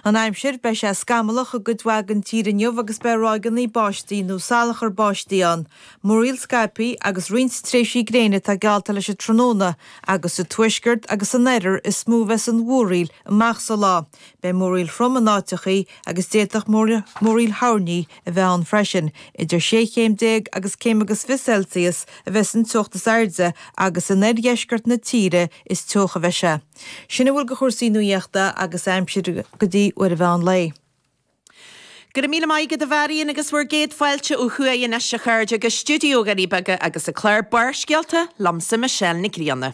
An aimsir, Beidh sé scamallach i gcuid mhaith den tír inniu agus beidh ráigeanna báistí nó salachar báistí ann. Múraíl scaipthe agus roinnt tréimhsí gréine atá geallta leis an tráthnóna agus sa tuaisceart agus san oirthear is mó a bheas an mhúraíl amach sa lá. Beidh múraíl throm in áiteachaí agus d'fhéadfadh múraíl thoirní a bheith ann freisin. Idir 16 chéim agus céim agus 20 Celsius a bheas an teocht is airde agus in oirdheisceart na tíre is teocha a bheidh sé. Sin a bhfuil de chúrsaí nuaíochta agus aimsire go dtí uair an mheán lae. Go raibh míle maith agat a Mharion agus bhur gcéad fáilte ó thuaidh anois a chairde go stiúideo Dhoirí Beaga agus an clár Barrscéalta liomsa Michelle Nic Grianna.